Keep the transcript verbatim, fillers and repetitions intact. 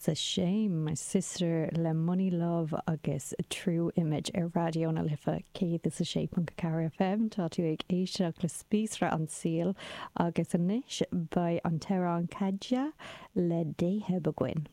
It's a shame my sister le Money Love agus True Image ar Raidió na Life céad is a sé ponc ceathair FM tá tú ag éisteacht le Spíosra an tSaoil agus anois beidh an t-amhrán Kadja le Dayheb againn.